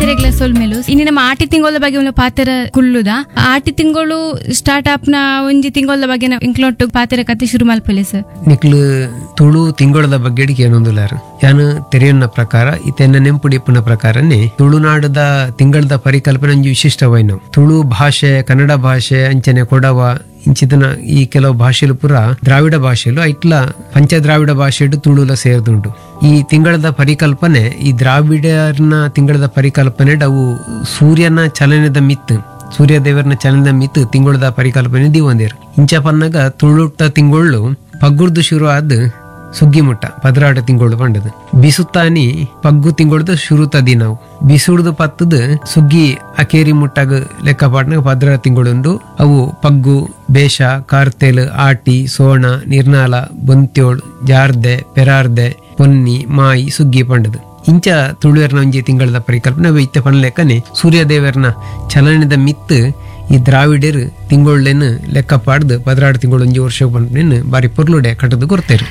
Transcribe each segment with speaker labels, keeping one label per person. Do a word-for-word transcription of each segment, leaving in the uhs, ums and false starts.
Speaker 1: ಮಾತೆರೆಗ್ಲ ಸೊಲ್ಮೆಲು ಇನ್ನು ನಮ್ಮ ಆಟಿ ತಿಂಗಳ ಬಗ್ಗೆ ಒಂದು ಪಾತೆರ ಕುಳ್ಳುದ. ಆಟಿ ತಿಂಗಳು ಸ್ಟಾರ್ಟ್ ಅಪ್ ನ ಒಂಜಿ ತಿಂಗಳ ಬಗ್ಗೆ ಇಂಕ್ಲೊಟ್ಟು ಪಾತೆರ ಕತೆ ಶುರು ಮಲ್ಪಲೆ ಸರ್.
Speaker 2: ನಿಕ್ಲು ತುಳು ತಿಂಗಳದ ಬಗ್ಗೆ ಏನೊಂದುಲಾರು ಯಾನು ತೆರೆಯನ್ನ ಪ್ರಕಾರ ಇತೆನ್ನ ನೆಂಪುಡಿಪ್ಪನ ಪ್ರಕಾರನೇ ತುಳುನಾಡದ ತಿಂಗಳದ ಪರಿಕಲ್ಪನೆ ಒಂಜಿ ವಿಶಿಷ್ಟವೈನವು. ತುಳು ಭಾಷೆ, ಕನ್ನಡ ಭಾಷೆ, ಅಂಚನೆ ಕೊಡವ ಇಂಚಿತನ ಈ ಕೆಲವು ಭಾಷೆಲು ಪೂರ ದ್ರಾವಿಡ ಭಾಷೆಲು ಐಟ್ಲ ಪಂಚದ್ರಾವಿಡ ಭಾಷೆಡು ತುಳುಲ ಸೇರ್ದುಂಡು. ಈ ತಿಂಗಳದ ಪರಿಕಲ್ಪನೆ ಈ ದ್ರಾವಿಡರ್ನ ತಿಂಗಳದ ಪರಿಕಲ್ಪನೆ ಅವು ಸೂರ್ಯನ ಚಲನೆದ ಮಿತ್ತು, ಸೂರ್ಯ ದೇವರನ ಚಲನದ ಮಿತ್ತು ತಿಂಗಳದ ಪರಿಕಲ್ಪನೆ ದಿವಂದೇರು. ಇಂಚ ಪನ್ನಗ ತುಳುಟ ತಿಂಗಳು ಪಗ್ಗುರ್ದು ಶುರು ಆದ್ ಸುಗ್ಗಿ ಮುಟ್ಟ ಪದ್ರಾಟ ತಿಂಗಳು ಪಂಡದು. ಬಿಸುತ್ತಾನಿ ಪಗ್ಗು ತಿಂಗಳದ ಶುರುತ ದಿನವು ಬಿಸುಡ್ದು ಪತ್ತದ ಸುಗ್ಗಿ ಅಕೇರಿ ಮುಟ್ಟಾಗ ಲೆಕ್ಕ ಪಾಟ್ನಾಗ ಪದ್ರಾಟ ತಿಂಗಳುಂಡು. ಅವು ಪಗ್ಗು, ಬೇಷ, ಕಾರ್ತೆಲ್, ಆಟಿ, ಸೋಣ, ನಿರ್ನಾಲ, ಬೊಂತ್ಯೋಳ್, ಜಾರ್ದೆ, ಪೆರಾರ್ದೆ, ಪೊನ್ನಿ, ಮಾಯಿ, ಸುಗ್ಗಿ ಪಂಡದು. ಇಂಚ ತುಳುವೆರ್ನ ಒಂಜಿ ತಿಂಗಳದ ಪರಿಕಲ್ಪನೆ ಅವು ಇತ್ತೆ ಪನ್ಲೆಕ್ಕನೆ ಸೂರ್ಯದೇವರ್ನ ಚಲನದ ಮಿತ್ತು ಈ ದ್ರಾವಿಡರು ತಿಂಗೊಳ್ಳೆನ್ ಲೆಕ್ಕ ಪಾಡ್ದು ಪದ್ರಾಡು ತಿಂಗಳು ಒಂಜಿ ವರ್ಷ ಪನ್ಪಿನ ಬಾರಿ ಪೊರ್ಲುಡೆ ಕಟ್ಟದು ಕೊಡ್ತೇರು.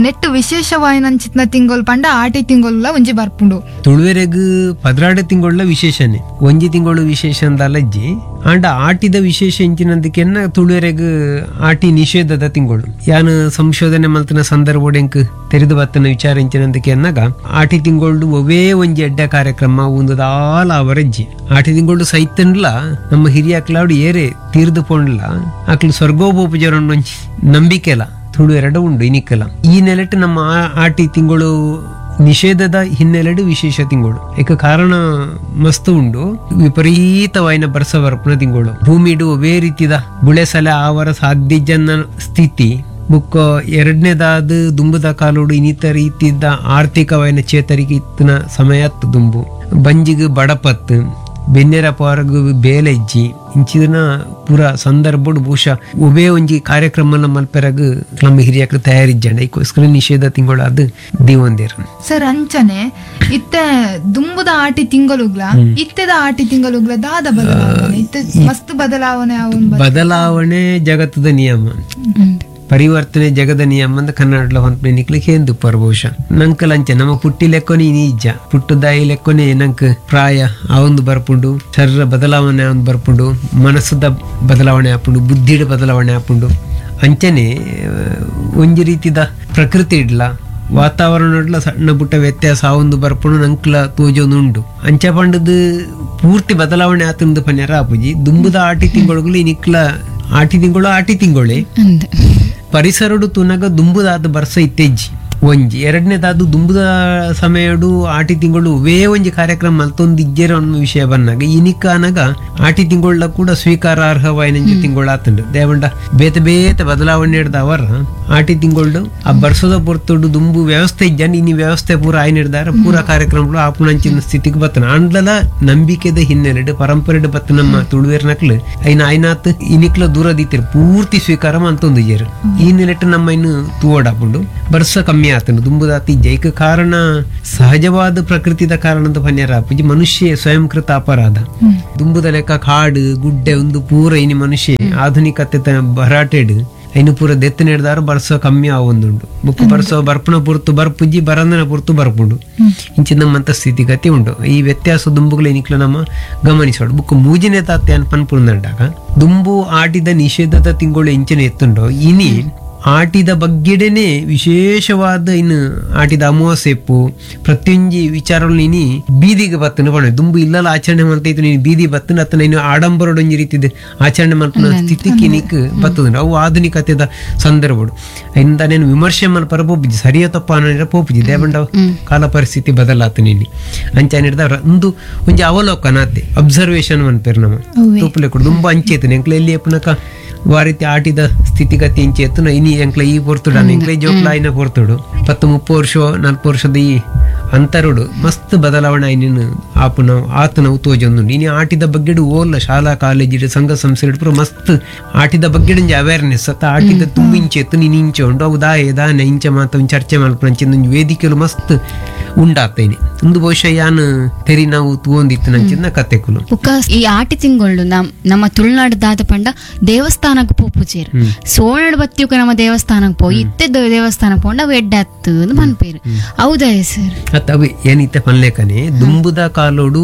Speaker 3: ನೆಟ್ಟು ವಿಶೇಷವಾಯಿನಂಚಿತ್ನ ತಿಂಗೊಲ್ ಪಂಡ ಆಟಿ ತಿಂಗೊಲ್ಲ ಒಂಜಿ ಬರ್ಪುಂಡು.
Speaker 2: ತುಳುವೆರೆಗ್ ಪದ್ರಾಡು ತಿಂಗೊಳ್ಳ ವಿಶೇಷನೆ, ಒಂಜಿ ತಿಂಗಳು ವಿಶೇಷ ಅಂದಲಜ್ಜಿ. ಆಂಡ ಆಟಿದ ವಿಶೇಷ ಇಂಚಿನಂದಕ್ಕೆನ್ನ ತುಳುವೆರೆಗ್ ಆಟಿ ನಿಷೇಧದ ತಿಂಗಳು. ಯಾನು ಸಂಶೋಧನೆ ಮಲ್ತಿನ ಸಂದರ್ಭ ತೆರೆದು ಬತ್ತನ ವಿಚಾರ ಇಂಚಿನಂದಕ್ಕೆನ್ನಾಗ ಆಟಿ ತಿಂಗಳು ಒವೇ ಒಂಜಿ ಎಡ್ಡೆ ಕಾರ್ಯಕ್ರಮ ಒಂದುದಾಲ ಅವರಜ್ಜಿ. ಆಟಿ ತಿಂಗಳು ಸೈತನ್ಲ ನಮ್ಮ ಹಿರಿಯಾಕ್ಲಾಡು ಏರೆ ತೀರ್ದು ಪೋಂಡ್ಲ ಆಕ್ಲು ಸ್ವರ್ಗೋಪೂಜರ ಒಂಜಿ ನಂಬಿಕೆಲ ತುಳು ಎರಡು ಉಂಡು ಇನಿಕ್ಕಲ. ಈ ನೆಲೆಟ್ ನಮ್ಮ ಆಟಿ ತಿಂಗಳು ನಿಷೇಧದ ಹಿನ್ನೆಲೆಡು ವಿಶೇಷ ತಿಂಗಳು. ಏಕ ಕಾರಣ ಮಸ್ತ್ ಉಂಡು, ವಿಪರೀತವಾಯಿನ ಬರ್ಸ ಬರ್ಪನ ತಿಂಗಳು. ಭೂಮಿಡು ಒವೇ ರೀತಿದ ಬುಳೆಸಲೆ ಆವರ ಸಾಧ್ಯ ಜನ ಸ್ಥಿತಿ ಬುಕ್ಕ. ಎರಡನೇದಾದ ದುಂಬುದ ಕಾಲೋಡು ಇನ್ನಿತ ರೀತಿದ ಆರ್ಥಿಕವಾಯಿನ ಚೇತರಿಕೆ ಇತ್ತಿನ ಸಮಯ ದುಂಬು. ಬಂಜಿಗೆ ಬಡಪತ್ತು, ಬೆನ್ನೆರ ಪಾರಗು ಬೇಲೆಜ್ಜಿ ಇಂಚಿನ ಪೂರ ಸಂದರ್ಭಡು ಬಹುಶಃ ಒಬೇ ಒಂಜಿ ಕಾರ್ಯಕ್ರಮನ ಮಲ್ಪೆರಗ್ ನಮ್ಮ ಹಿರಿಯಕರು ತಯಾರಿಜ್ಜಂಡ. ಇದಕ್ಕೋಸ್ಕರ ನಿಷೇಧ ತಿಂಗಳು ಅದು ದಿವಂದೇರು
Speaker 3: ಸರ್. ಅಂಚನೆ ಇತ್ತೆ ದುಂಬುದ ಆಟಿ ತಿಂಗಳುಗ್ಲ ಇತ್ತೆದ ಆಟಿ ತಿಂಗಳುಗ್ಲ ದಾದ ಬದಲಾವಣೆ ಇತ್ತೆ ಮಸ್ತ್ ಬದಲಾವಣೆ
Speaker 2: ಬದಲಾವಣೆ ಜಗತ್ತದ ನಿಯಮ, ಪರಿವರ್ತನೆ ಜಗದ ನಿಯಮ ಅಂತ ಕನ್ನಡ ಹೊಂದ್ಪೆ ನಿಕ್ಲಿಕ್ಕೆ ಏನ್ ದುಪ್ಪರ್ ಬಹುಶಃ. ನಂಕಲ್ ಅಂಚೆ ನಮ್ಮ ಪುಟ್ಟಿ ಲೆಕ್ಕೊನೆ ಇನಿ ಇಜ್ಜ, ಪುಟ್ಟದಾಯಿ ಲೆಕ್ಕೊನೆ ನಂಕ್ ಪ್ರಾಯ ಆ ಒಂದು ಬರ್ಪುಂಡು, ಶರೀರ ಬದಲಾವಣೆ ಒಂದು ಬರ್ಪುಂಡು, ಮನಸ್ಸದ ಬದಲಾವಣೆ ಆಪುಂಡು, ಬುದ್ಧಿಡ ಬದಲಾವಣೆ ಆಪುಂಡು. ಅಂಚನೆ ಒಂಜಿ ರೀತಿದ ಪ್ರಕೃತಿ ಇಡ್ಲ ವಾತಾವರಣ ಇಡ್ಲ ಸಣ್ಣ ಪುಟ್ಟ ವ್ಯತ್ಯಾಸ ಆ ಒಂದು ಬರ್ಪುಂಡು ನಂಕ್ಲ ತೋಜೊಂದು ಉಂಡು. ಅಂಚ ಪಂಡದು ಪೂರ್ತಿ ಬದಲಾವಣೆ ಆತಂದು ಪನ್ಯಾರ ಆಪುಜಿ. ದುಂಬುದ ಆಟಿ ತಿಂಗಳು ನಿಕ್ಲ ಆಟಿ ತಿಂಗಳು ಆಟಿ ತಿಂಗಳೇ ಪರಿಸರಡು ತುನಗ ದುಂಬುದಾದ ಬರ್ಸ ಇತ್ತೆಜ್ಜಿ ಒಂಜಿ. ಎರಡನೇದಾದ ದುಂಬುದ ಸಮಯಡು ಆಟಿ ತಿಂಗಳು ವೇ ಒಂಜಿ ಕಾರ್ಯಕ್ರಮ ಮಲ್ತೊಂದು ಇಜ್ಜೆರ ಅನ್ನೋ ವಿಷಯ ಬಂದಾಗ ಇನಿಕ ಅನಗ ಆಟಿ ತಿಂಗಳ ಕೂಡ ಸ್ವೀಕಾರಾರ್ಹವಾಯಿನಂಜಿ ತಿಂಗಳು ಆತಂಡು. ದೇವಂಡ ಬೇತೆ ಬೇತೆ ಬದಲಾವಣೆ ಹಿಡ್ದ ಅವರ ಆಟಿ ತಿಂಗಳು ಆ ಬರ್ಸದ ಪೊರ್ತುಡು ದುಂಬು ವ್ಯವಸ್ಥೆ ಇಜ್ಜನ್ ಇನಿ ವ್ಯವಸ್ಥೆ ಪೂರ ಆಯ್ನ ಹಿಡ್ದಾರ ಪೂರ ಕಾರ್ಯಕ್ರಮಗಳು ಆಪುಣಂಚಿನ ಸ್ಥಿತಿಗೆ ಬತ್ತನ. ಆಂಡ್ಲಲ ನಂಬಿಕೆದ ಹಿನ್ನೆಲೆಡು ಪರಂಪರೆಡು ಬತ್ತ ನಮ್ಮ ತುಳುವೇರ್ನಕ್ಲು ಐನ ಐನಾತ್ ಇನಿಕ್ಲ ದೂರ ದೀತಿರು ಪೂರ್ತಿ ಸ್ವೀಕಾರ ಅಂತೊಂದು ಇಜ್ಜೆರು. ಈ ನೆಲೆಟ್ಟು ನಮ್ಮ ಇನ್ನು ತೂವಡಾಪುಂಡು ಬರ್ಸ ಕಮ್ಮಿ ಆತನು ದುಂಬುದಾತಿ ಜೈಕ ಕಾರಣ ಸಹಜವಾದ ಪ್ರಕೃತಿದ ಕಾರಣದ ಪನ್ಯಾರ ಆಪುಜಿ, ಮನುಷ್ಯ ಸ್ವಯಂಕೃತ ಅಪರಾಧ. ದುಂಬುದ ಲೆಕ್ಕ ಕಾಡು ಗುಡ್ಡೆ ಒಂದು ಪೂರ ಇನಿ ಮನುಷ್ಯ ಆಧುನಿಕತೆ ಭರಾಟೆಡ್ ಐನು ಪೂರ ದೆತ್ತ ನೆಡ್ದಾರ ಬರ್ಸ ಕಮ್ಮಿ ಆವೊಂದುಂಡು. ಬುಕ್ ಬರ್ಸೋ ಬರ್ಪುನ ಪುರ್ತು ಬರ್ಪುಜಿ, ಬರಂದನ ಪುರ್ತು ಬರ್ಪುಂಡು. ಇಂಚಿ ನಮ್ಮಂತ ಸ್ಥಿತಿಗತಿ ಉಂಡು. ಈ ವ್ಯತ್ಯಾಸ ದುಂಬುಗಳು ಇನಿಕ್ಲ ನಮ್ಮ ಗಮನಿಸೋಡು. ಬುಕ್ ಮೂಜಿನೇ ತಾತೆ ಅನ್ ಪನ್ಪುಂಡಾಗ ದುಂಬು ಆಟಿದ ನಿಷೇಧದ ತಿಂಗಳು ಇಂಚಿನ ಎತ್ತುಂಡು. ಇನಿ ಆಟಿದ ಬಗ್ಗೆಡೆನೆ ವಿಶೇಷವಾದ ಇನ್ನು ಆಟಿದ ಅಮಾವಾಸ್ಯೆಪ್ಪು ಪ್ರತಿಯೊಂಜಿ ವಿಚಾರಗಳು ನೀನಿ ಬೀದಿಗೆ ಬತ್ತನ ಪಣ ದುಂಬು ಇಲ್ಲಲ್ಲ ಆಚರಣೆ ಮಾಡ್ತಾ ನೀನು ಬೀದಿ ಬತ್ತನ ಅತ್ತ ನೀನು ಆಡಂಬರಡೊಂಜಿ ರೀತಿದ ಆಚರಣೆ ಮಲ್ಪನ ಸ್ಥಿತಿಗೆ ನೀಕ್ ಬತ್ತದ. ಅವು ಆಧುನಿಕತೆದ ಸಂದರ್ಭಡು ಇಂದ ನೇನು ವಿಮರ್ಶೆ ಮಲ್ಪರ ಪೋಪುಜಿ, ಸರಿಯ ತಪ್ಪ ಅನ್ನೋ ಪೋಪುಜಿ. ದೇವಂಡ ಕಾಲ ಪರಿಸ್ಥಿತಿ ಬದಲಾತ ನೀನಿ ಅಂಚ ಹಿಡ್ದವ್ರ ಒಂದು ಒಂಜಿ ಅವಲೋಕನ ಆತೆ ಅಬ್ಸರ್ವೇಷನ್ ಮನ್ಪೇರು ನಮ್ಮ ತೂಪುಲೆ ಕೊಡು ದುಂಬು ಅಂಚೇತನೆ ಎಂಕ್ಲ ಎಲ್ಲಿ ಎಪ್ಪನಕ ವಾರೀತಿ ಆಟಿದ ಸ್ಥಿತಿಗತಿ ಇಂಚೆ ಎತ್ತುನ ಇನಿ ಎಂಕ್ಲ ಈ ಪೊರ್ತುಡು ಎಂಕ್ಲ ಜೋಕ್ಲ ಆಯ್ನ ಪೊರ್ತುಡು ಪತ್ತು ಮುಪ್ಪು ವರ್ಷ ನಾಲ್ಕು ವರ್ಷದ ಈ ಅಂತರುಡು ಮಸ್ತ್ ಬದಲಾವಣೆ ಆಯ್ನ ಆಪುನ ಆತನ ತೋಜೊಂದುಂಡು. ಇನಿ ಆಟಿದ ಬಗ್ಗೆಡು ಓಲ್ಲ ಶಾಲಾ ಕಾಲೇಜ್ ಸಂಘ ಸಂಸ್ಥೆ ಪೂರ ಮಸ್ತ್ ಆಟಿದ ಬಗ್ಗೆ ಒಂಜಿ ಅವೇರ್ನೆಸ್ ಅತ್ತ ಆಟಿದ ತುಂಬ ಇಂಚೆ ಎತ್ತು ನೀನು ಇಂಚೆ ಉಂಡು ಅವು ದಾಯೆ ದಾನೆ ಇಂಚೆ ಮಾತ ಒಂಜಿ ಚರ್ಚೆ ಮಲ್ಪುನ ಒಂಜಿ ವೇದಿಕೆಲು ಮಸ್ತ್ ಉಂಡಾತೇನೆ. ಒಂದು ಬಹುಶಃ ಯಾನ್ ತೆರಿ ನಾವು ತೂವೊಂದಿತ್ತು ನಂಚಿನ ಕತೆಕುಲು.
Speaker 4: ಬುಕ್ಕ ಈ ಆಟಿ ತಿಂಗಳು ನಮ್ ನಮ್ಮ ತುಳುನಾಡು ದಾದ ಪಂಡ ದೇವಸ್ಥಾನಕ್ಕೆ ಪೋಪುಜೇರು ಸೋಣಡ್ ಬತ್ತಿಯುಕ ನಮ್ಮ ದೇವಸ್ಥಾನಕ್ಕೆ ಪೋಯಿ ಇತ್ತೆ ದೇವಸ್ಥಾನಕ್ಕೆ ಪೋಂಡ ಅವು ಎಡ್ಡೆ ಅತ್ತು ಪನ್ಪೇರು. ಹೌದಾ ಸರ್?
Speaker 2: ಅತ್ತ ಅವು ಏನಿತ್ತೆ ಪನ್ಲೇಕನೆ ದುಂಬುದ ಕಾಲ ಕಾಲೋಡು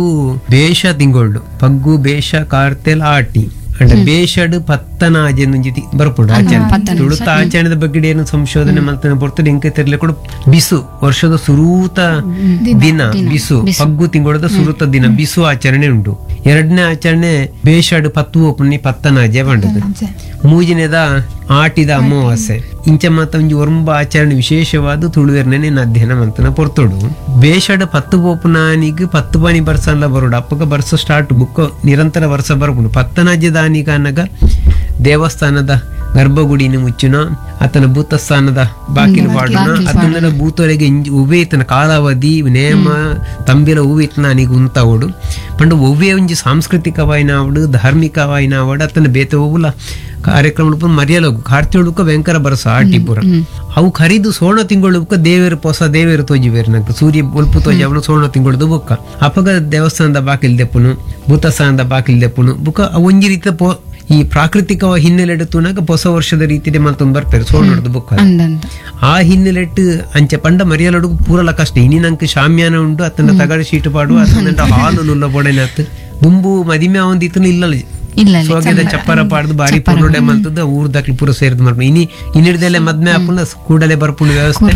Speaker 2: ಬೇಷ ತಿಂಗೊಳ್ಳು ಪಗ್ಗು ಬೇಷ ಕಾರ್ತೆಲ್ ಆಟಿ ಅಂಡ ಬೇಷಡ್ ಪತ್ತನಾಜೆ ಒಂಜಿ ಬರ್ಪುಂಡು ಆಚರಣೆ. ತುಳುತ ಆಚರಣೆದ ಬಗ್ಗೆ ಏನು ಸಂಶೋಧನೆ ಮಲ್ತನ ಪೊರ್ತುಡು ಇಂಕ ತೆರ್ಲೆ ಕೂಡ ಬಿಸು ವರ್ಷದ ಸುರೂತ ದಿನ ಬಿಸು, ಪಗ್ಗು ತಿಂಗಳದ ಸುರೂತ ದಿನ ಬಿಸು ಆಚರಣೆ ಉಂಟು. ಎರಡನೇ ಆಚರಣೆ ಬೇಷಡ್ ಪತ್ತು ಓಪುನಿ ಪತ್ತನಾಜೆ ಪಂಡದು. ಮೂಜಿನೆದ ಆಟಿದ ಅಮಾವಾಸ್ಯೆ. ಇಂಚ ಮಾತ ಒಂಜಿ ಒರಂಬ ಆಚರಣೆ ವಿಶೇಷವಾದ ತುಳುವೆರ್ನೇ ಅಧ್ಯಯನ ಮಂತನ ಪೊರ್ತುಡು. ಬೇಷಡ್ ಪತ್ತು ಪೋಪುನಾನಿಗ್ ಪತ್ತು ಪಾನಿ ಬರ್ಸನ್ಲ ಬರೋಡು ಅಪ್ಪಗ ಬರ್ಸ ಸ್ಟಾರ್ಟ್ ಬುಕ್ಕ ನಿರಂತರ ವರ್ಷ ಬರ್ಪುಂಡು. ಪತ್ತನಾಜೆ ದಾನಿಗ ಅನ್ನಗ ದೇವಸ್ಥಾನದ ಗರ್ಭಗುಡಿನ ಮುಚ್ಚುನ, ಆತನ ಭೂತಸ್ಥಾನದ ಬಾಕಿಲು ಪಾಡುನ, ಅತನ ಭೂತೊರೆಗೆ ಒವ್ವೇ ಇತನ ಕಾಲಾವಧಿ ನೇಮ ತಂಬಿಲ ಹೂವೆ ಇತ್ತನ ಅನಿಗೆ ಉಂತಾವಡು ಪಂಡ ಒವ್ವೇ ಒಂಜಿ ಸಾಂಸ್ಕೃತಿಕವಾಯಿನ ಆವಡು ಧಾರ್ಮಿಕವಾಯಿನ ಆವಡು ಅತನ ಬೇತೆ ಒವ್ವುಲ ಕಾರ್ಯಕ್ರಮ ಮರ್ಯಲೋಗು ಕಾರ್ತಿಯುಡುಕ ಭಯಂಕರ ಬರಸ ಆಟಿ ಪೂರ ಅವು ಖರೀದು ಸೋಣ ತಿಂಗಳು ಬುಕ್ಕ ದೇವೇರು ಪೊಸ ದೇವೇರು ತೋಜಿಬೇರು ನಂಗೆ ಸೂರ್ಯ ಒಲ್ಪು ತೋಜಿ ಅವನು ಸೋಣ ತಿಂಗಳದು ಬುಕ್ಕ ಅಪಗ ದೇವಸ್ಥಾನದ ಬಾಕಿಲ್ ದೆಪ್ಪುನು ಭೂತಸ್ಥಾನದ ಬಾಕಿಲ್ ದೆಪ್ಪುನು ಬುಕ್ಕ ಒಂಜಿ ರೀತಿಯ ಪೋ ಈ ಪ್ರಾಕೃತಿಕ ಹಿನ್ನೆಲೆ ತೂನಾಗ ಹೊಸ ವರ್ಷದ ರೀತಿಯಲ್ಲಿ ಮತ್ತೊಂದು ಬರ್ತಾರೆ ಸೋಣದ ಬುಕ್ಕ. ಆ ಹಿನ್ನೆಲೆಟ್ಟು ಅಂಚೆ ಪಂಡ ಮರಿಯಲಡು ಪೂರಲ ಕಷ್ಟ. ಇನಿ ನಂಗೆ ಶಾಮ್ಯಾನ ಉಂಟು ಅತನ ತಗಡು ಶೀಟು ಪಾಡು ಅತನ ಹಾಲು ನುಲ್ಲ ಬೊಡೆನಾತ್ ದುಂಬು ಮದಿಮೆ ಅವಂದಿತ್ತನು ಇಲ್ಲ ಸೋಗೆದ ಚಪ್ಪರ ಪಾಡ್ದು ಬಾರಿ ಪೊರ್ಲುಡೆ ಮಲ್ತದ ಊರ್ ದಾಕ್ಲಿ ಪೂರ ಸೇರಿದ್ ಮಲ್ಪು. ಇನಿ ಇನ್ನಿಡ್ದಲ್ಲೇ ಮದ್ಮೆ ಆಪುನ ಕೂಡಲೇ ಬರ್ಪುಂಡು ವ್ಯವಸ್ಥೆ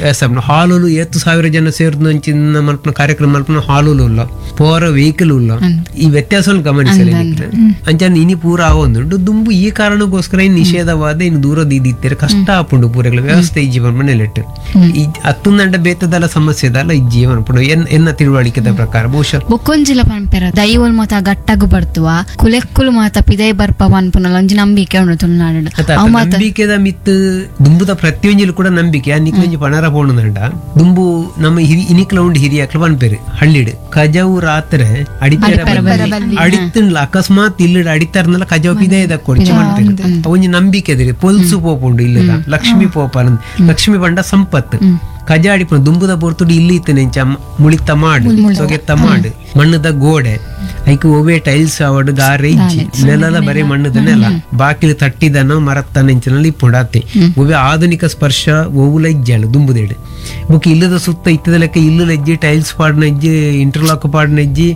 Speaker 2: ವ್ಯವಸ್ಥೆ ಹಾಲುಲು ಏತ್ತು ಸಾವಿರ ಜನ ಸೇರ್ದು ಅಂಚಿನ ಮಲ್ಪುನ ಕಾರ್ಯಕ್ರಮ ಮಲ್ಪುನ ಹಾಲುಲು ಉಲ್ಲ ಪೋರ ವೆಹಿಕಲ್ ಉಲ್ಲ ಈ ವ್ಯತ್ಯಾಸವನ್ನು ಗಮನಿಸಲಿ ಅಂಚ ಇನಿ ಪೂರ ಆವೊಂದುಂಡು ದುಂಬು. ಈ ಕಾರಣಕ್ಕೋಸ್ಕರ ಇನ್ ನಿಷೇಧವಾದ ಇನ್ನು ದೂರದ ಇದ್ದಿತ್ತಾರೆ ಕಷ್ಟ ಆಪುಂಡು ಪೂರಗಳ ವ್ಯವಸ್ಥೆ ಈ ಜೀವನ ಮನೆಯಲ್ಲಿಟ್ಟು ಈ ಅತ್ತೊಂದಂಡ ಬೇತದಲ್ಲ ಸಮಸ್ಯೆ ದಲ್ಲ ಈ ಜೀವನ ಪುಂಡು ಎನ್ನ ತಿಳುವಳಿಕೆದ ಪ್ರಕಾರ ಬಹುಶಃ
Speaker 4: ಬೊಕ್ಕೊಂಜಿಲ ಪನ್ಪೆರ ದೈವಲ್ ಮಾತ ಗಟ್ಟಗು ಬರ್ತುವ ಕುಲೆಕ್ಕುಲು ಮಾತ ಪಿದೈ ಬರ್ಪ ಪನ್ಪುನಲ ಒಂಜಿ ನಂಬಿಕೆ ಉಂಡು ತುಳುನಾಡು.
Speaker 2: ನಂಬಿಕೆದ ಮಿತ್ ದುಂಬುದ ಪ್ರತಿಯೊಂಜಿಲು ಕೂಡ ನಂಬಿಕೆ ಆ ನಿಕ್ಲೊಂಜಿ ಪಣರ ಪೋಣುದಂಡ ದುಂಬು ನಮ್ಮ ಹಿರಿ ಇನಿಕ್ಲ ಉಂಡು ಹಿರಿಯಕ್ಲ ಪನ್ಪೆರು ಹಳ್ಳಿಡು ಕಜವು ರಾತ್ರೆ ಅಡಿತರ ಅಡಿತ್ತಂಡ್ಲ ಅಕಸ್ಮಾತ್ ಇಲ್ಲಡ ಅಡಿತಾರನಲ್ಲ ಕಜವು ಪಿದೈ ದಕ್ಕೊಡ್ಚಿ ಪನ್ಪೆರು. ಒಂಜಿ ನಂಬಿಕೆ ಅದಿರಿ ಪೊಲ್ಸು ಪೋಪುಂಡು ಇಲ್ಲದ ಲಕ್ಷ್ಮಿ ಪೋಪ ಲಕ್ಷ್ಮಿ ಪಂಡ ಸಂಪತ್ತು ಕಜ ಅಡಿಪುಂಡು ದುಂಬುದ ಪೊರ್ತುಡು ಇಲ್ಲಿ ಇತ್ತನೆಂಚ ಮುಳಿತ ಮಾಡು ಸೊಗೆತ್ತ ಮಾಡು ಮಣ್ಣದ ಗೋಡೆ ಐಕ್ ಒವ್ವೆ ಟೈಲ್ಸ್ ಅವಡು ಗಾರೆ ಇಜ್ಜಿ ನೆಲದ ಬರೀ ಮಣ್ಣದ ನೆಲ ಬಾಕಿಲು ತಟ್ಟಿದನ ಮರತ್ತ ನೆಂಚಿನಲ್ಲಿ ಇಪ್ಪುಂಡಾತೆ ಒವ್ವೆ ಆಧುನಿಕ ಸ್ಪರ್ಶ ಒವ್ವುಲ ಇಜ್ಜಾಳು ದುಂಬುದೇಡು ಬುಕ್ ಇಲ್ಲದ ಸುತ್ತ ಇತ್ತದ ಲೆಕ್ಕ ಇಲ್ಲು ಇಜ್ಜಿ ಟೈಲ್ಸ್ ಪಾಡ್ನ ಇಜ್ಜಿ ಇಂಟರ್ಲಾಕ್ ಪಾಡ್ನ ಇಜ್ಜಿ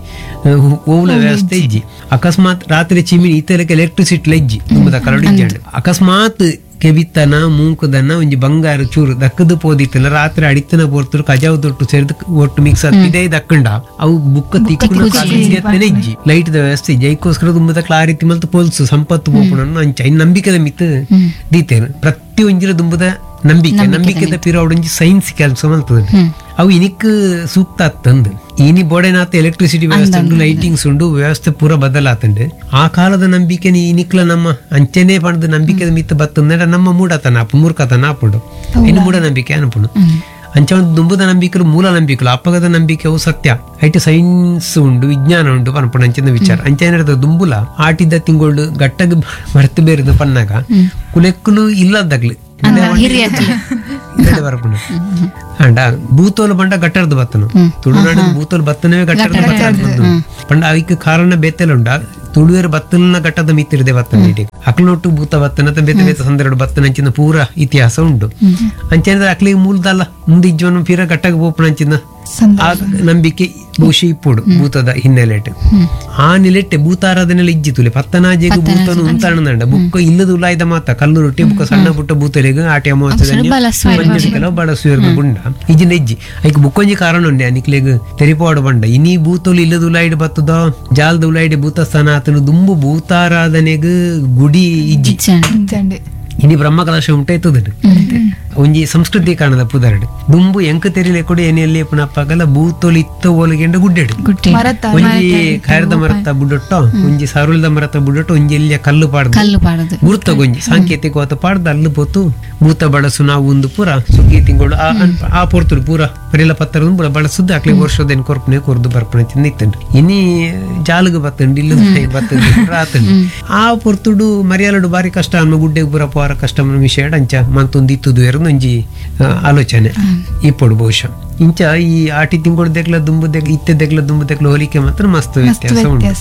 Speaker 2: ಒವ್ವುಲ ವ್ಯವಸ್ಥೆ ಇಜ್ಜಿ. ಅಕಸ್ಮಾತ್ ರಾತ್ರಿ ಚಿಮಿನಿ ಇತ್ತ ಲೆಕ್ಕ ಎಲೆಕ್ಟ್ರಿಸಿಟಿ ಇಜ್ಜಿ ದುಂಬುದ ಕರಡು ಇಜ್ಜಾಂಡು. ಅಕಸ್ಮಾತ್ ಕೆಬಿತ್ತನ ಮೂಂಕುದನ ಒಂಜಿ ಬಂಗಾರ ಚೂರು ದಕ್ಕದು ಪೋದಿತ್ತನ ರಾತ್ರಿ ಅಡಿತನ ಪೋರ್ತರು ಕಜಾವು ದೊಟ್ಟು ಸೇರಿದ ಒಟ್ಟು ಮಿಕ್ಸ್ ಇದೇ ದಕ್ಕಂಡ ಅವು ಬುಕ್ಕ ತಿಕ್ಕು ಇಜ್ಜಿ ಲೈಟ್ the ವ್ಯವಸ್ಥೆ ಇಜ್ಜಿ. ಐಕ್ಕೋಸ್ಕರ ದುಂಬದ ಕ್ಲಾರಿತಿ ಮಲ್ತು ಪೊಲ್ಸು ಸಂಪತ್ತು ಪೋಪುಣ ಅಂಚ ಇನ್ ನಂಬಿಕೆದ ಮಿತ್ ದೀತೇನೆ ಪ್ರತಿ ಒಂಜಿರ ದುಂಬುದ ನಂಬಿಕೆ ನಂಬಿಕೆದ ಪಿರವಡೊಂಜಿ ಸೈನ್ಸ್ ಕೆಲಸ ಮಲ್ತದ ಅವು ಇನಿಕ್ ಸೂಕ್ತ ತಂದು ಇನಿ ಬೋಡೆನಾತ ಎಲೆಕ್ಟ್ರಿಸಿಟಿ ವ್ಯವಸ್ಥೆ ಉಂಟು ಲೈಟಿಂಗ್ಸ್ ಉಂಟು ವ್ಯವಸ್ಥೆ ಪೂರ ಬದಲಾತಂಡು. ಆ ಕಾಲದ ನಂಬಿಕೆ ಇನಿಕ್ಲ ನಮ್ಮ ಅಂಚನೆ ಪಣದ ನಂಬಿಕೆದ ಮಿತ್ತ ಬತ್ತಂದ್ರೆ ನಮ್ಮ ಮೂಡತನ ಅಪ್ಪ ಮೂರ್ಖತನ ಆಪುಂಡು ಇನ್ನು ಮೂಢ ನಂಬಿಕೆ ಅನ್ಪುಂಡು. ಅಂಚ ಒಂದು ದುಂಬುದ ನಂಬಿಕೆಲು ಮೂಲ ನಂಬಿಕೆಲು ಅಪ್ಪಗದ ನಂಬಿಕೆ ಅವು ಸತ್ಯ ಐಟ್ ಸೈನ್ಸ್ ಉಂಡು ವಿಜ್ಞಾನ ಉಂಡು ಪನ್ಪುಂಡು ಅಂಚಿನ ವಿಚಾರ. ಅಂಚ ಏನಿರ್ತದೆ ದುಂಬುಲ ಆಟಿದ್ದ ತಿಂಗಳು ಗಟ್ಟಗ್ ಮರ್ತು ಬೇರೆದು ಪನ್ನಾಗ ಕುಲೆಕ್ಕುಲು ಇಲ್ಲದಾಗ್ಲಿ ಅಂಡ ಭೂತೋಲು ಪಂಡ ಗಟ್ಟರ್ದು ಬತ್ತನು ತುಳುನಾಡು ಭೂತೋಲು ಬತ್ತನವೇ ಗಟ್ಟರ್ದು ಬತ್ತನ ಪಂಡ ಅವಕ್ಕೆ ಕಾರಣ ಬೇತೆಲ್ಲ ಉಂಡ ತುಳುವೇರು ಬತ್ತನ ಘಟ್ಟದ ಮಿತ್ತಿರದೆ ಬತ್ತನ ಇಡೀ ಅಕ್ಲೊಟ್ಟು ಭೂತ ಬತ್ತನ ಬೇತೆ ಬೇತೆ ಸಂದರ್ಭ ಬತ್ತನ ಅಂಚಿನ ಪೂರ ಇತಿಹಾಸ ಉಂಡು. ಅಂಚೆಂದ್ರೆ ಅಕ್ಲಿಗೆ ಮೂಲದಲ್ಲ ಮುಂದೆ ಇಜ್ವನ ಪೀರ ಘಟ್ಟಗೆ ಪೋಪುನ ಅಂಚಿನ ಆ ನಂಬಿಕೆ ಬಹುಶಃ ಇಪ್ಪುಡು ಭೂತದ ಹಿನ್ನೆಲೆಟ್. ಆ ನಿಲೆಟ್ಟೆ ಭೂತಾರಾಧನೆಲ್ಲ ಇಜ್ಜಿ ತುಲೆ ಪತ್ತನಾಜೆಗೆ ಭೂತನು ಉಂತಾಣಂಡ ಬುಕ್ಕ ಇಲ್ಲದ ಉಲಾಯ್ದ ಮಾತ ಕಲ್ಲು ರೊಟ್ಟಿ ಬುಕ್ಕ ಸಣ್ಣ ಪುಟ್ಟ ಭೂತಲೆಗ್ ಆಟಿ ಅಮಾವಾಸ್ಯೆ ಕೆಲವು ಬಳಸುವ ಗುಂಡ ಇಜ್ಜಿನ ಇಜ್ಜಿ ಐಕ್ ಬುಕ್ಕೊಂಜಿ ಕಾರಣ ಉಂಡೆ ಅನಿಕ್ಲೆಗ್ ತೆರಿಪಾಡು ಬಂಡ ಇನಿ ಭೂತಲು ಇಲ್ಲದ ಉಲಾಯ್ಡ್ ಬತ್ತದ ಜಾಲದ ಉಲಾಯ್ಡ್ ಭೂತಸ್ಥಾನ ಆತನು ದುಂಬು ಭೂತಾರಾಧನೆಗ್ ಗುಡಿ ಇಜ್ಜಿ ಇನಿ ಬ್ರಹ್ಮಕಲಶ ಉಂಟಾಯ್ತದ ಒಂಜಿ ಸಂಸ್ಕೃತಿ ಕಾಣದ ಪುದರ್ಡ್ ದುಂಬು ಎಂಕ ತೆರಿಲೆ ಕೊಡಿ ಎನೆಯಲ್ಲಿ ಪುನಪ್ಪಾಗಲ್ಲ ಭೂತೋಲು ಇತ್ತ ಓಲಗೆಂಡ ಗುಡ್ಡೆಡು ಒಂಜಿ ಖೈರದ ಮರತ ಬುಡೊಟ್ಟ ಒಂಜಿ ಸರುಳದ ಮರತ ಬುಡೊಟ್ಟ ಒಂಜಿ ಎಲ್ಲಿಯ ಕಲ್ಲು ಪಾಡ್ದು
Speaker 4: ಕಲ್ಲು ಪಾಡದು
Speaker 2: ಗುರ್ತಗೊಂಜಿ ಸಾಂಕೇತಿಕವಾದ ಪಾಡ್ದು ಅಲ್ಲು ಪೋತು ಭೂತ ಬಳಸು ನಾವು ಒಂದು ಪೂರ ಸುಗ್ಗಿ ತಿಂಗಳು ಆ ಪೊರ್ತುಡು ಪೂರ ಪರಿಲ ಪತ್ತರ ಪೂರ ಬಳಸುದು ಅಕ್ಲಿ ವರ್ಷದೇನು ಕೊರ್ಪನೆ ಕೊರ್ದು ಬರ್ಪಣೆ ತಿಂದು ಇನಿ ಜಾಲುಗು ಬತ್ತಂಡು ಇಲ್ಲ ಬತ್ತಂಡು ಆತಂಡು ಆ ಪೊರ್ತುಡು ಮರ್ಯಾಲಡು ಬಾರಿ ಕಷ್ಟ ಅನ್ನ ಗುಡ್ಡೆಗೆ ಪೂರ ಪೋರ ಕಷ್ಟ ವಿಷಯ ಅಂಚ ಮಂತೊಂದು ಇತ್ತುದು ಒಂಜಿ ಆಲೋಚನೆ ಇಪ್ಪಡು ಬಹುಶಃ. ಇಂಚ ಈ ಆಟಿ ತಿಂಗಳು ದೆಗ್ಲ ದುಂಬು ದೆಗ್ಲ ಇತ್ತೆ ದೆಗ್ಲ ದುಂಬು ದೆಗ್ಲ ಹೋಲಿಕೆ ಮಾತ್ರ ಮಸ್ತ್ ವ್ಯತ್ಯಾಸ ಉಂಟು.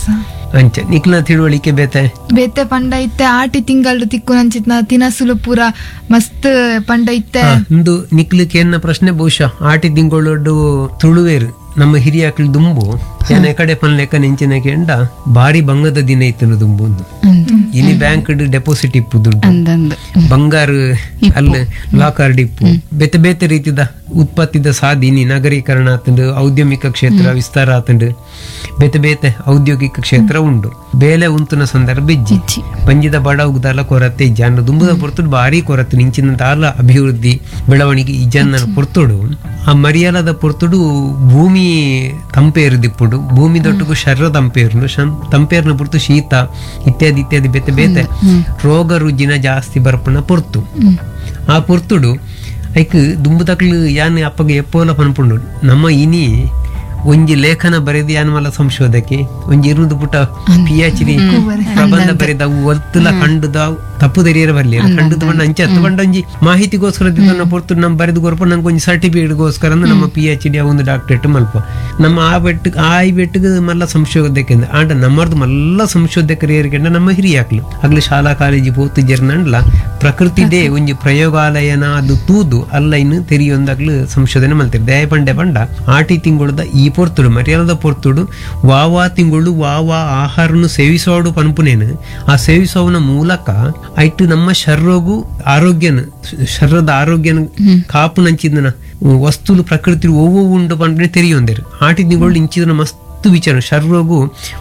Speaker 2: ಅಂಚ ನಿಕ್ಲ ತಿಳುವಳಿಕೆ ಬೇತೆ
Speaker 3: ಬೇತೆ ಪಂಡ ಇತ್ತೆ ಆಟಿ ತಿಂಗಳು ತಿಕ್ಕು ನಂಚಿತ್ನ ತಿನಸುಲು ಪೂರ ಮಸ್ತ್ ಪಂಡ ಇತ್ತೆ
Speaker 2: ಇಂದು ನಿಕ್ಲಕ್ಕೆ ಎನ್ನ ಪ್ರಶ್ನೆ ಬಹುಶಃ ಆಟಿ ತಿಂಗಳೊಡ್ಡು ತುಳುವೇರು ನಮ್ಮ ಹಿರಿಯಾಕ್ಳು ದುಂಬು ಯಾನೆ ಕಡೆ ಪನ್ಲೆಕ್ಕ ನೆಂಚಿನ ಕೆಂಡ ಭಾರಿ ಬಂಗದ ದಿನ ಇತ್ತು ದುಂಬು ಒಂದು. ಇನಿ ಬ್ಯಾಂಕ್ ಡೆಪಾಸಿಟ್ ಇಪ್ಪು ದುಡ್ಡು
Speaker 4: ಅಂದಂದು
Speaker 2: ಬಂಗಾರ ಅಲ್ಲ ಲಾಕರ್ ಇಪ್ಪು ಬೇತೆ ಬೇತೆ ರೀತಿದ ಉತ್ಪತ್ತಿದ ಸಾಧಿನಿ ನಗರೀಕರಣ ಆತಂಡು ಔದ್ಯಮಿಕ ಕ್ಷೇತ್ರ ವಿಸ್ತಾರ ಆತಂಡು ಬೇತೆ ಬೇತೆ ಔದ್ಯೋಗಿಕ ಕ್ಷೇತ್ರ ಉಂಡು ಬೇಲೆ ಉಂತುನ ಸಂದರ್ಭ ಇಜ್ಜಿ
Speaker 4: ಇಜ್ಜಿ.
Speaker 2: ಪಂಜಿದ ಬಡವುದಲ್ಲ ಕೊರತೆ ಇಜ್ಜಿ ಅನ್ನ ದುಂಬುದ ಪೊರ್ತುಡು ಭಾರಿ ಕೊರತೆ ನಿಂಚಿನ ತಾಲ ಅಭಿವೃದ್ಧಿ ಬೆಳವಣಿಗೆ ಇಜ್ಜನ್ನ ಪೊರ್ತುಡು ಆ ಮರಿಯಾಲದ ಪೊರ್ತುಡು ಭೂಮಿ ತಂಪೇರುದಿಪ್ಪುಡು ಭೂಮಿ ದೊಟ್ಟುಗು ಶರ್ರ ತಂಪೇರುಂಡು ಶಂ ತಂಪೇರ್ನ ಪೊರ್ತು ಶೀತ ಇತ್ಯಾದಿ ಇತ್ಯಾದಿ ಬೇತೆ ಬೇತೆ ರೋಗ ರುಜಿನ ಜಾಸ್ತಿ ಬರ್ಪುನ ಪೊರ್ತು ಆ ಪೊರ್ತುಡು ಐಕ್ ದುಂಬು ತಕ್ಲು ಯಾನ್ ಅಪ್ಪಗೆ ಎಪ್ಪೋಲ ಪನ್ಪುಂಡು ನಮ್ಮ ಇನಿ ಒಂಜಿ ಲೇಖನ ಬರೆದು ಯಾನ್ ಮಲ್ಲ ಸಂಶೋಧಕೆ ಒಂಜಿ ಇರುದು ಪುಟ P H D ಪ್ರಬಂಧ ಬರೆದ ಅವು ಒತ್ತುಲ ಕಂಡುದ ತಪ್ಪು ತೆರಿಯರ ಬರ್ಲಿ ಕಂಡುದ ಬಣ್ಣ ಅಂಚೆ ಹತ್ತು ಬಂಡ ಒಂಜಿ ಮಾಹಿತಿಗೋಸ್ಕರ ದಿನ ಪೊರ್ತು ನಮ್ಮ ಬರೆದು ಕೊರಪ ನಂಗೆ ಒಂಜಿ ಸರ್ಟಿಫಿಕೇಟ್ಗೋಸ್ಕರ ಅಂದ್ರೆ ನಮ್ಮ P H D ಒಂದು ಡಾಕ್ಟರೇಟ್ ಮಲ್ಪ ನಮ್ಮ ಆ ಬೆಟ್ಟು ಆ ಈ ಬೆಟ್ಟಿಗೆ ಮಲ್ಲ ಸಂಶೋಧಕೆ ಆಂಡ ನಮ್ಮರ್ದು ಮಲ್ಲ ಸಂಶೋಧಕರು ಏರ್ಕೆಂಡ ನಮ್ಮ ಹಿರಿಯಾಕ್ಲು ಆಗ್ಲಿ ಶಾಲಾ ಕಾಲೇಜು ಪೋತು ಜರ್ನಂಡ್ಲ ಪ್ರಕೃತಿದೇ ಒಂಜಿ ಪ್ರಯೋಗಾಲಯನ ಅದು ತೂದು ಅಲ್ಲ ಇನ್ನು ತೆರಿಯೊಂದಾಗ್ಲು ಸಂಶೋಧನೆ ಮಲ್ತಿರ್ ದಯ ಪಂಡೆ ಪಂಡ ಆಟಿ ತಿಂಗಳದ ಈ ಪೊರ್ತುಡು ಮರ್ಯಾದದ ಪೊರ್ತುಡು ವಾವಾ ತಿಂಗಳು ವಾವಾ ಆಹಾರನು ಸೇವಿಸೋಡು ಪನ್ಪುನೇನು ಆ ಸೇವಿಸೋವನ ಮೂಲಕ ಐಟು ನಮ್ಮ ಶರ್ರೋಗು ಆರೋಗ್ಯನ ಶರ್ರದ ಆರೋಗ್ಯನ ಕಾಪು ನಂಚಿದನ ವಸ್ತುಲು ಪ್ರಕೃತಿ ಒವ್ವು ಉಂಡು ಪನ್ಪುನೆ ತೆರಿಯೊಂದೇರು ಆಟಿ ತಿಂಗಳು ಇಂಚಿದನ ಮಸ್ತ್ ವಿಚಾರ ಶರ್ರೋಗು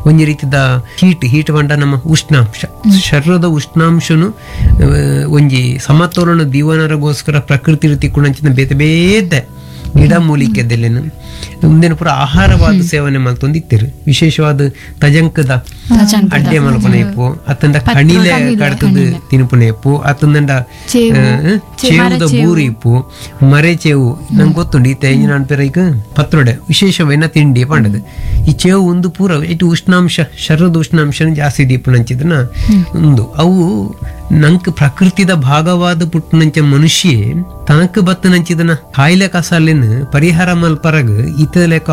Speaker 2: ಒಂಜಿ ರೀತಿದ ಹೀಟ್ ಹೀಟ್ ಪಂಡ ನಮ್ಮ ಉಷ್ಣಾಂಶ ಶರೀರದ ಉಷ್ಣಾಂಶನು ಆ, ಒಂಜಿ ಸಮತೋಲನ ದೀವನರಗೋಸ್ಕರ ಪ್ರಕೃತಿ ರೀತಿ ಕುಣಂಚಿನ ಬೇತೆ ಬೇತೆ ಗಿಡ ಮೂಲಿಕೆದಲ್ಲೇನು ಮುಂದಿನ ಪೂರ ಆಹಾರವಾದ ಸೇವನೆ ಮಲ್ತೊಂದು ಇತ್ತಿರು ವಿಶೇಷವಾದ ತಜಂಕದ ಅಡ್ಡೆ ಮಲ್ಪನ ಇಪ್ಪು ಅತ್ತಂಡ ಕಣಿಲೆ ಕಡ್ತದ ತಿನ್ಪುನ ಇಪ್ಪು ಅತ್ತಂಡ ಚೇವುದ ಬೂರಿ ಇಪ್ಪು ಮರೆ ಚೇವು ನಂಗೆ ಗೊತ್ತುಂಡು ಈ ತೇಂಜಿನ ಅನ್ಪೇರ ಈಗ ಪತ್ರೊಡೆ ವಿಶೇಷವೇನ ತಿಂಡಿ ಪಂಡದು ಈ ಚೇವು ಒಂದು ಪೂರ ಇಟ್ಟು ಉಷ್ಣಾಂಶ ಶರೀರದ ಉಷ್ಣಾಂಶನ ಜಾಸ್ತಿ ದೀಪನಂಚಿದನ ಒಂದು ಅವು ನಂಕ್ ಪ್ರಕೃತಿದ ಭಾಗವಾದ ಪುಟ್ಟನಂಚ ಮನುಷ್ಯ ತನಕ್ ಬತ್ತನಂಚಿದನ ಕಾಯಿಲೆ ಕಸಾಲಿನ ಪರಿಹಾರ ಮಲ್ಪರಗ್ ಇತ ಲೆಕ್ಕ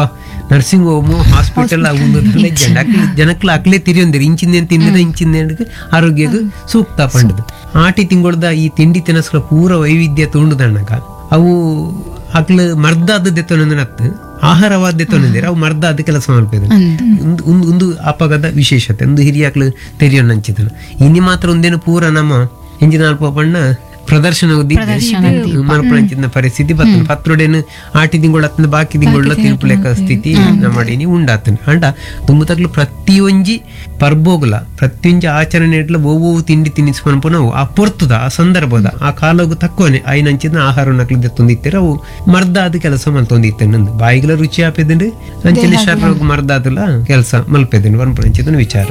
Speaker 2: nursing home hospital ಜನಕ್ಲ ಅಕ್ಲೆ ತಿರಿಯೊಂದಿರಿ ಇಂಚಿಂದೇನು ತಿಂದಿರ ಇಂಚಿಂದೇನು ಆರೋಗ್ಯಕ್ಕೆ ಸೂಕ್ತ ಪಂಡದು ಆಟಿ ತಿಂಗಳದ ಈ ತಿಂಡಿ ತಿನಸ್ಗಳ ಪೂರ ವೈವಿಧ್ಯ ತುಂಡುದಣ್ಣಗ ಅವು ಅಕ್ಲು ಮರ್ದಾದ ದೆತ್ತೊನಂದನತ್ತು ಆಹಾರವಾದ ದೆತ್ತೊನಂದಿರ ಅವು ಮರ್ದಾದ ಕೆಲಸ ಮಲ್ಪೆದ ಒಂದು ಒಂದು ಒಂದು ಅಪಗದ ವಿಶೇಷತೆ ಒಂದು ಹಿರಿಯಾಕ್ಲು ತೆರಿಯೊನ್ನಂಚಿದನು ಇನಿ ಮಾತ್ರ ಒಂದೇನು ಪೂರ ನಮ್ಮ ಇಂಜಿನ ಅಲ್ಪ ಬಣ್ಣ ಪ್ರದರ್ಶನ ಮನಪುಣಂಚಿನ ಪರಿಸ್ಥಿತಿ ಬರ್ತದೆ ಪತ್ರೊಡೆನು ಆಟಿ ತಿಂಗಳು ಅತ್ತನ ಬಾಕಿ ತಿಂಗಳ ತಿರುಪುಲೆಕ್ಕ ಸ್ಥಿತಿ ನಮ್ಮ ಉಂಡಾತನ ಅಂಡ ತುಂಬುತಕ್ಲು ಪ್ರತಿಯೊಂಜಿ ಪರ್ಬೋಗುಲ ಪ್ರತಿಯೊಂಜಿ ಆಚರಣೆ ಇಟ್ಲ ಒವ್ವು ತಿಂಡಿ ತಿನ್ನಿಸ್ಕೊಂಡು ನಾವು ಆ ಪೊರ್ತುದ ಆ ಸಂದರ್ಭದ ಆ ಕಾಲಗು ತಕ್ಕೋನೆ ಐನಂಚಿನ ಆಹಾರ ನಕ್ಲು ತೊಂದಿತ್ತೀರ ಅವು ಮರ್ದಾದ ಕೆಲಸ ಮಲ್ತೊಂದಿತ್ತೆ ನಂದು ಬಾಯಿಗಳ ರುಚಿ ಆಪೆದಂಡು ಅಂಚನೆ ಶರ್ರೋಗ್ ಮರ್ದಾದಲ ಕೆಲಸ ಮಲ್ಪೆದಂಡು ವನ್ಪುಣಂಚಿನ ವಿಚಾರ.